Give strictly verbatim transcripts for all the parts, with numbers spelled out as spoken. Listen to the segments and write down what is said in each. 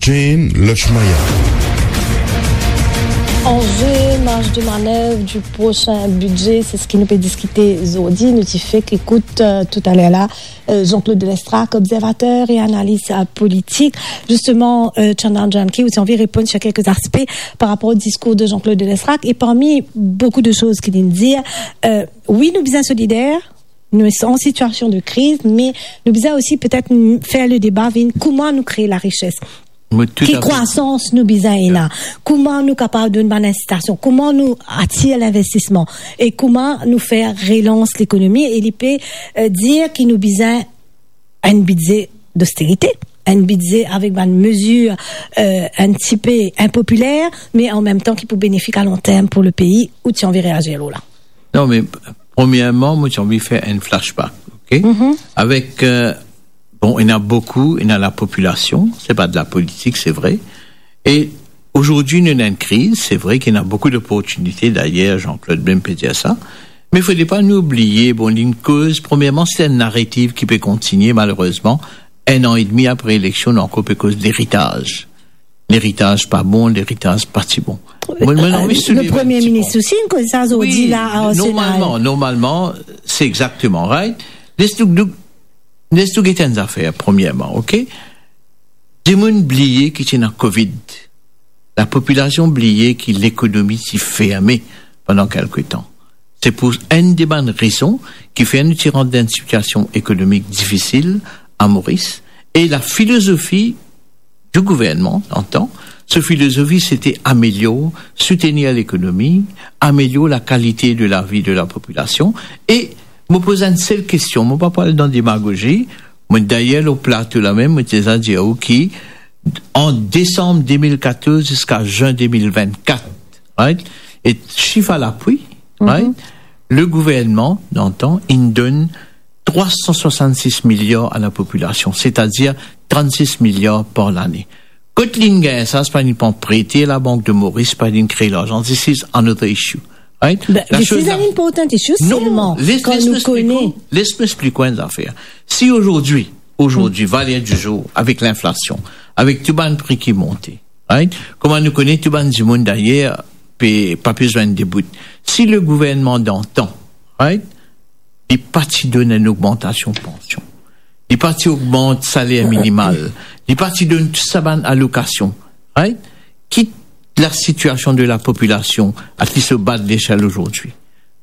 Jane Lachmaya. Anze, marj de manev di prosin bidze, se seki nou pe diskite zordi. Nou ti fek ekout, euh, toutaler la, euh, Jean-Claude Lestrac, observater e analis, euh, politik. Zisteman, euh, Chandan Janki, ou ti anvi reponn sir kelke aspe par rapor o diskour de Jean-Claude Lestrac. E parmi boukou de soz ki li'nn dir, euh, wi, nou bizin solider, nou an sitiasion de kriz, me nou bizin osi petet n-, fer le deba vinn kouma nou kree larises. Ki krwasans nou bizin ena? Kouma nou kapav donn bann insitasion? Kouma nou atir linvestisman? E kouma nou fer relans lekonomi? E li pe, euh, dir ki nou bizin enn bidze dosterite, enn bidze avek bann mezir, euh, enn tipe inpopiler, me an mem tan ki pou benefik a long term pou le pei. Ou ti anvi reazir lor la? Non, me premierman, mo ti anvi fer enn flashback, ok? Avek, euh, bon, ena boukou, ena lapopilasion, se pa de lapolitik, se vre. E azordi, nou ena enn kriz, se vre ki ena boukou loportinite, dayer, Jean-Claude mem pe dir sa. Me fode pa nou bliye, bon, li'nn koz, premierman, se enn naretiv ki pe kontigne, malerezman. Enn an edmi apre eleksion, nou ankor pe koz leritaz. Leritaz pa bon, leritaz pa ti bon. Mo, mo anvi souleve enn ti pwen. Le Premie Minis osi, inn koz sa zordi la, a Arsenal. Wi, normalman, normalman, se exakteman, right? Les nou, nou, les nou get enn zafer, premierman, ok? Dimoun bliye ki ti ena Covid. Lapopilasion bliye ki lekonomi ti ferme pandan kelke tan. Se pou enn de bann rezon ki fer nou ti rant dan enn sitiasion ekonomik difisil a Moris. E lafilozofi di gouvernman antan, so filozofi, se ti amelior, soutenir lekonomi, amelior lakalite de lavi de lapopilasion. E mo poz enn sel kestion, mo pa pou al dan demagozi, mo, dayer, lor plato la mem, mo ti deza dir ou ki ant desam de mil katorz ziska zin de mil vennkat, right? E sif a lapwi, right? Le gouvernman, antan, inn donn trwa san swasannsis miliar a lapopilasion, setadir trannsis miliar par lane. Kot li'nn gagn sa? Se pa li'nn pran prete Labank de Moris, pa li'nn kree larzan, this is another issue. Right? But this is an important issue, selman, kan nou kone. Non, les, les mo explik ou, les mo explik ou enn zafer. Si azordi, azordi, valer di zour, avek linflasion, avek tou bann pri ki monte, right? Kouma nou kone, tou bann dimoun dayer pe, pa pe zwenn debout. Si le gouvernman dantan, right, li pa ti donn enn ogmantasion pansion, li pa ti ogmant saler minimal, li pa ti donn tou sa bann alokasion, right? Ki lasitiasion de lapopilasion, at least o ba de lesel azordi?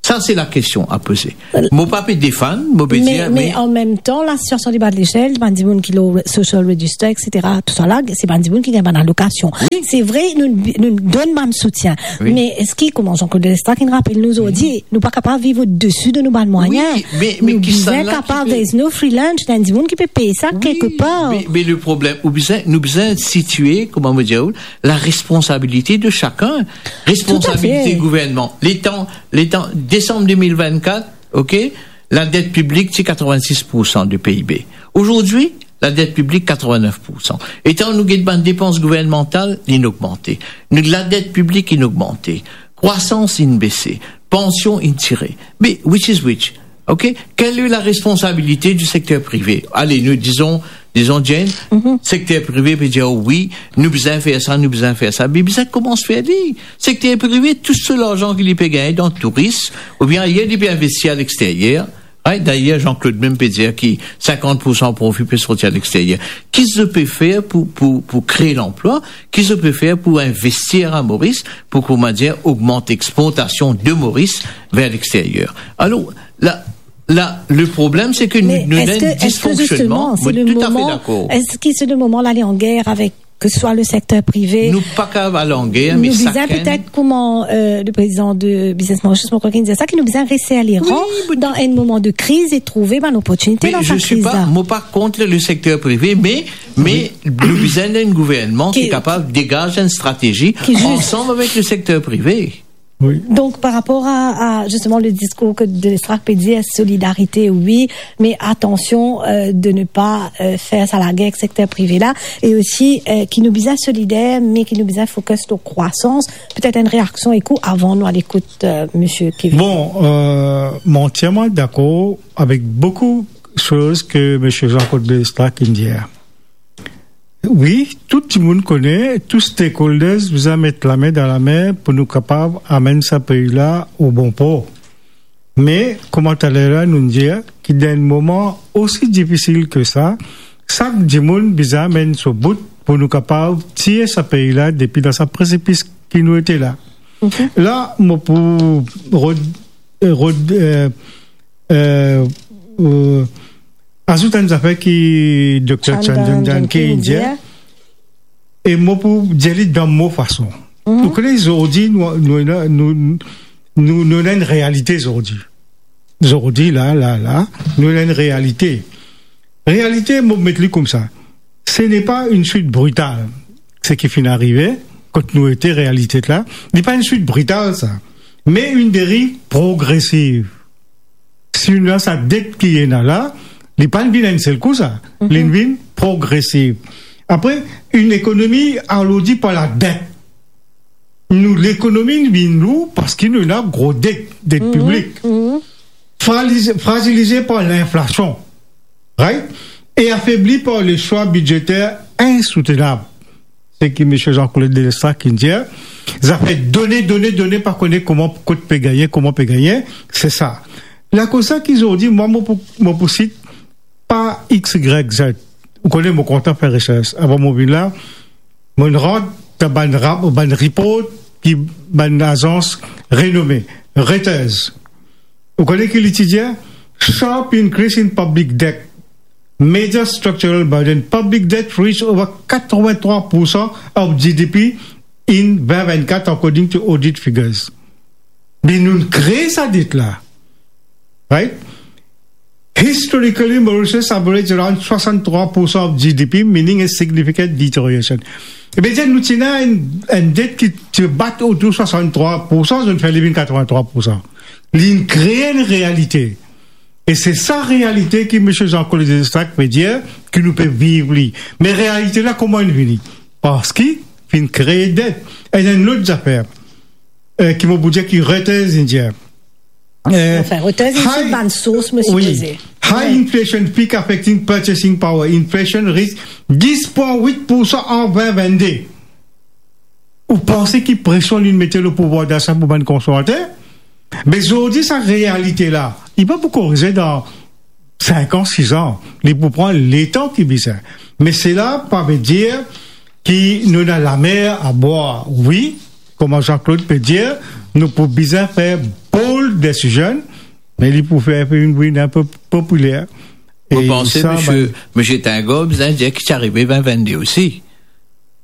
Sa, se lakestion a poze. Mo pa pe defann, mo pe dir, me, me an mem tan, lasitiasion de ba de lesel, bann dimoun ki lor social register, et cetera, tousala, se bann dimoun ki gagn bann alokasion. Wi. Se vre, nou, nou donn bann soutien. Wi. Me eski, kouma Jean-Claude Lestrac inn rapel nou zordi, nou pa kapav viv odesi de nou bann mwayin. Wi, me, me nou bizin kapav res nou freelance, bann dimoun ki pe pey sa kelkepar. Wi, me, me le problem, ou bizin, nou bizin sitie, kouma mo dir ou, laresponsabilite de sakenn. Responsabilite gouvernman. Letan, letan, desam de mil vennkat, ok, ladet piblik ti katrevin-sis poursan de P I B. Azordi, ladet piblik katrevin-nef poursan. Letan nou get bann depans gouvernmantal, li'nn ogmante. Nou, ladet piblik inn ogmante. Krwasans inn bese. Pansion inn tire. Me which is which? Ok? Quelle est la responsabilité du secteur privé? Ale, nou dizon, dizon, Jane, sekter prive pe dir, "Wi, nou bizin fer sa, nou bizin fer sa." Me bizin koumans fer li. Sekter prive, tou so larzan ki li pe gagne dan touris, oubien ayer, li pe investi aleksteryer. Right? Dayer, Jean-Claude mem pe dir ki sinkant poursan profi pe sorti aleksteryer. Ki zot pe fer pou, pou, pou kree lanplwa? Ki zot pe fer pou investir a Moris, pou, kouma dir, ogmant exportasion de Moris ver leksteryer? Alor, la, la, le problem, se ke nou, nou ena enn disfonksionnman. Me eski, eski zisteman, se le moman, eski se le moman d'aller en guerre avec, que ce soit le secteur privé? Nou pa kapav al an ger, me sakenn... Nou bizin petet, kouma, euh, le prezidan de Business Mauritius, mo krwar ki dir sa, ki nou bizin reser leran dan enn moman de kriz e trouve bann loportinite dan sa kriz la. Mo pa kont le sekter prive, me, me nou bizin enn gouvernman ki kapav degaz enn stratezi ansam avek le sekter prive. Wi. Donk, par rapor a, a, zisteman, le diskour ke de Lestrac pe dir, solidarite, wi, me atansion, euh, de ne pa, euh, fer sa lager ek sekter prive la, e osi, euh, ki nou bizin solider, me ki nou bizin focus lor krwasans. Petet enn reaksion ek ou avan nou al ekout, euh, misie Kevin. Bon, euh, mo antierman dakor avek boukou soz ke misie Jean-Claude Lestrac inn dir. Wi, tou dimoun kone, tou stakeholders bizin met lame dan lame pou nou kapav amenn sa pei la o bon por. Me, kouma taler la nou dir, ki dan enn moman osi difisil ki sa, sak dimoun bizin amenn so bout pou nou kapav tir sa pei la depi dan sa presipis ki nou ete la. La, mo pou rod-, rod-, eh, eh, eh, azout enn zafer ki Dokter Chandan Janki inn dir, e mo pou dir li dan mo fason. Ou kone, zordi, nou, nou, nou, nou, nou ena enn realite zordi. Zordi, la, la, la, nou ena enn realite. Realite, mo met li koumsa. Ce n'est pas une chute brutale, seki finn arive, kot nou ete, realite la. Li pa enn chute brutale, sa. Me enn deriv progresiv. Si nou ena sa det ki ena la, li pa vinn enn sel kou sa. Li vinn progresiv. Apre, enn ekonomi alourdi par la det. Nou, lekonomi vinn lour parski nou ena gro det, det piblik. Frazi-, frazilize par linflasion. Right? E afebli par le swa bidzeter insoutenab. Seki Misie Jean-Claude Delestrak inn dir, zafer done, done, done, pa kone kouma, kot pe gagne, kouma pe gagne, se sa. Lakoz sa ki zordi, mwa, mo pou, mo pou sit pa X, Y, Z. Ou kone, mo kontan fer resers. Avan mo vinn la, mo rant dan bann rap-, bann report ki bann azans renome, Reuters. Ou kone ki li ti dir? Sharp increase in public debt, major structural burden. Public debt reach over eighty-three percent of G D P in twenty twenty-four, according to audit figures. Me nou kree sa det la. Right? Historically, Mauritius average around swasann-trwa pour san of G D P, meaning a significant deterioration. Savedir nou ti ena enn, enn det ki ti bat otour swasann-trwa pour san, zot fer li vinn katrovin-trwa pour san. Li kree enn realite. E se sa realite ki Misie Jean-Claude Delestrak pe dir ki nou pe viv li. Me realite la, kouma li vini? Parski finn kree det. E enn lot zafer, eh, ki mo pou dir ki Reuters inn dir. Eh, Anfin, Reuters inn sit bann sours, mo sipoze. High inflation peak affecting purchasing power. Inflation reach dis pwin wit pour san an vin vennde. Ou panse ki presion li mete lor pouvwar dasa pou bann konsomater? Me zordi sa realite la, li pa pou korize dan sink an, sis an, li pou pran letan ki bizin. Me sela pa ve dir ki nou ena lamer a bwar. Wi, kouma Jean-Claude pe dir, nou pou bizin fer bold decision, me li pou fer vinn, vinn inpe popiler. Mo panse, misie, misie Tingor bizin dir ki ti arive vin vennde osi.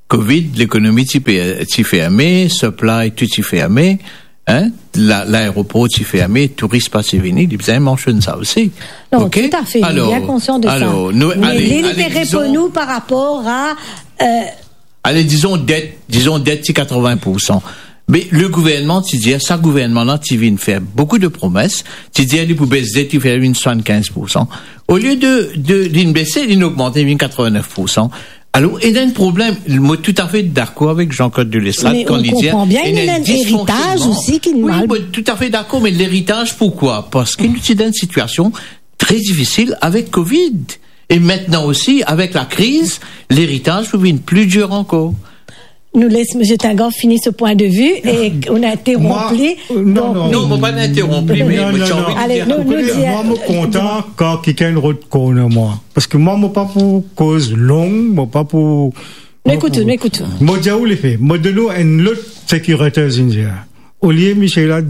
Covid, lekonomi ti pe, ti ferme, supply tou ti ferme, hein, la, laeropor ti ferme, touris pa ti vini, li bizin mansionn sa osi. Non, oke? Toutafe, li bien konsian de sa. Alor, nou, me ale, li, li ale, pe reponn nou par rapor a, euh, ale, dizon det, dizon det ti katrovin pour san. Me le gouvernman ti dir, sa gouvernman la ti vinn fer boukou de promes, ti dir li pou bes det, li fer vinn swasann-kinz pour san. Olie de, de, linn bese, linn ogmante, vinn katrovin-nef pour san. Alor, ena enn problem. Mo toutafe dakor avek Jean-Claude Delestrak kan li dir, ena enn disfonksionman. Me nou konpran bien, ena enn eritaj osi ki mal. Wi, mo toutafe dakor, me leritaz, poukwa? Parski nou ti dan enn sitiasion tre difisil avek Covid. E aster osi, avek lakriz, leritaz pou vinn pli dir ankor. Nou les misie Tingor fini so pwin de vi e nou interronp li. Donk, non, non, mo pa interronp li, me mo ti anvi dir. Ale, nou, nou dir. Mwa, mo kontan kan kikenn rod corner mwa. Parski mwa, mo pa pou koz long, mo pa pou... Nou ekout ou, nou ekout ou. Mo dir ou lefe, mo donn ou enn lot seki Reuters inn dir. Olie misie la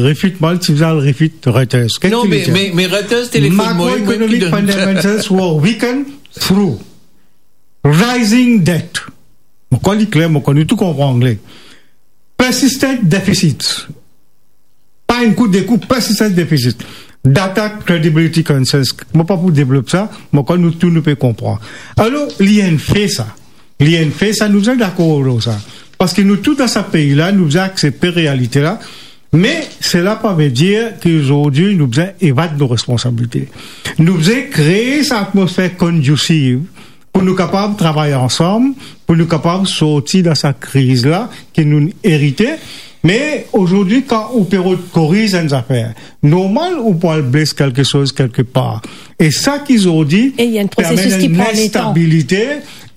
refit mwa, ti bizin al refit Reuters. Non, me, me, me Reuters telefonn mwa, mwa ki donn. Macroeconomic fundamentals were weakened through rising debt. Mo krwar li kler, mo krwar nou tou konpran angle. Persistent deficits. Pa enn kou, de kou, persistent deficits. Data credibility concerns. Mo pa pou devlop sa, mo krwar nou tou nou pe konpran. Alor, li enn fe sa. Li enn fe sa, nou bizin dakor lor sa. Parski nou tou dan sa pei la, nou bizin aksepte realite la. Me sela pa ve dir ki zordi nou bizin evad nou responsabilite. Nou bizin kree sa atmosfer kondisif pou nou kapav travay ansam, pou nou kapav sorti dan sa kriz la ki nou erite. Me azordi, kan ou pe rod koriz enn zafer, normal ou pou al bles kelke soz kelke par. E sa ki zordi, e ena enn prosesis ki pran letan, enn instabilite,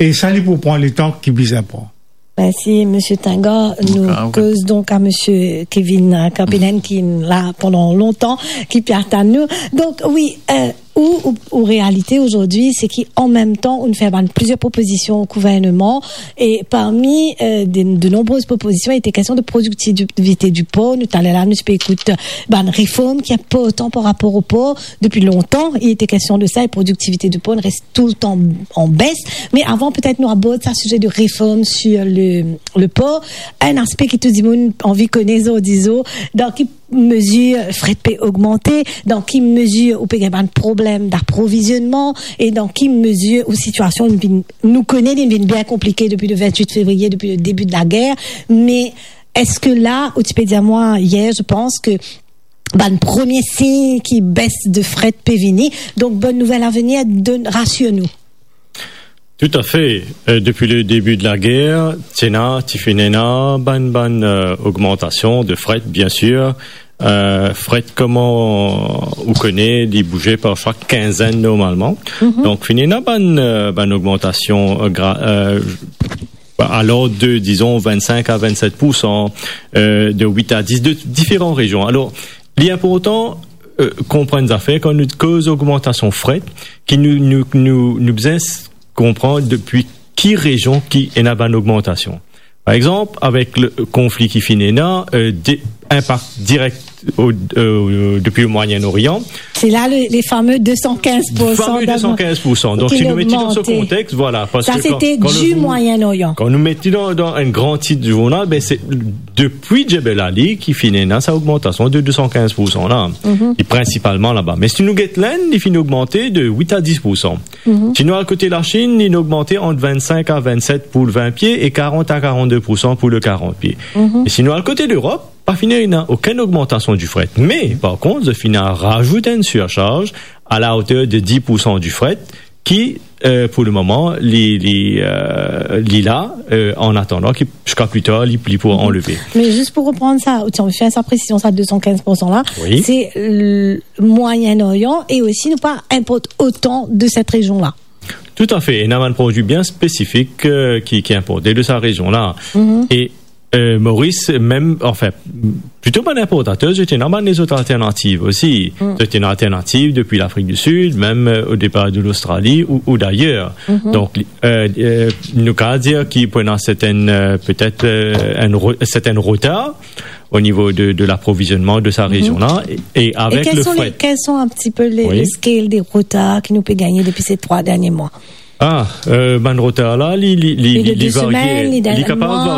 E sa, li pou pran letan ki bizin pran. Mersi, Misie Tinga. Nou koz donk a Misie Kevin, euh, Kampenen, ki la pandan lontan, ki pe atann nou. Donk, wi, euh, ou, ou, ou realite azordi, se ki an mem tan, ou fer bann plizier propozision o gouvernman, e parmi, euh, de, de nonbrez propozision, li ete kestion de produktivite di por. Nou, taler la, nou ti pe ekout bann reform ki inportan par rapor o por. Depi lontan, li ete kestion de sa, e produktivite di por inn res toultan an bes. Me avan, petet nou abord sa size de reform sir le, le por. Enn aspe ki tou dimoun anvi kone zordi zour, dan ki mezir fret pe ogmante, dan ki mezir ou pe gagn bann problem daprovizionman, e dan ki mezir ou sitiasion vinn, nou kone li vinn bien konplike depi le vintwit fevriye, depi le debi de lager. Me eski la, ou ti pe dir mwa yer, je pense, ke bann premie sign ki bes de fret pe vini. Donk, bonn nouvel a venir, donn, rasir nou. Toutafe. Euh, depi le debi de lager, ti ena, ti finn ena bann, bann, euh, ogmantasion de fret, biensir. Euh, fret, kouma ou kone, li bouze par sak kinzenn normalman. Mhm. Donk, finn ena bann, euh, bann ogmantasion, euh, gra-, euh, alor de, dizon, vinn-sink a vinn-set poursan, euh, de wit a dis, de diferan rezion. Alor, li inportan, euh, konprann zafer, kan nou koz ogmantasion fret, ki nou, nou, nou, nou bizin s-, konpran depi ki rezion ki ena bann ogmantasion. Par exanp, avek le konfli ki finn ena, euh, de, inpak direk o, euh, depi le Moyen-Orient. Se la le, le fame de san kinz poursan. Fame de san kinz poursan. Donk, si nou met li dan se kontex, vwala, parski kan, kan nou, kan nou met li dan, dan enn gran tit zournal, ben, se depi Jebel Ali ki finn ena sa ogmantasion de de san kinz poursan la. Mhm. E prinsipalman laba. Me si nou get Lenn, li finn ogmante de wit a dis poursan. Mhm. Si nou al kote Lasinn, li ogmante ant vinn-sink a vinn-set pou le vin pie e karant a karant-de poursan pou le karant pie. Mhm. E si nou al kote Lerop, pa finn ena okenn ogmantasion di fret. Me, par kont, zot finn razout enn sirsarz a la oter de dis poursan di fret ki, euh, pou le moman, li, li, euh, li la, euh, an atandan ki, ziska pli tar, li, li pou anleve. Me zis pou reprann sa, ou ti anvi fer sa presizion, sa de san kinz poursan la, wi, se, euh, Moyen-Orient, e osi nou pa inport otan de set rezion la. Toutafe, ena bann prodwi bien spesifik, euh, ki, ki inporte de sa rezion la. Mhm. E, euh, Moris, mem, anfin, plito bann inportater, zot ena bann lezot alternativ osi. Mm. Zot ena alternativ depi Lafrik di Sid, mem, euh, o depar de Lostrali ou, ou dayer. Mhm. Donk, li, euh, euh, nou kav dir ki pou ena sertenn, euh, petet, euh, enn re-, sertenn retar o nivo de, de laprovizionman de sa rezion la, e, e avek le fret. E quels sont les, quels sont un petit peu les, wi, les scales des retards ki nou pe gagne depi se trwa dernie mwa? Ah, euh, bann retar la, li, li, li, li, li varie. Li kapav varie.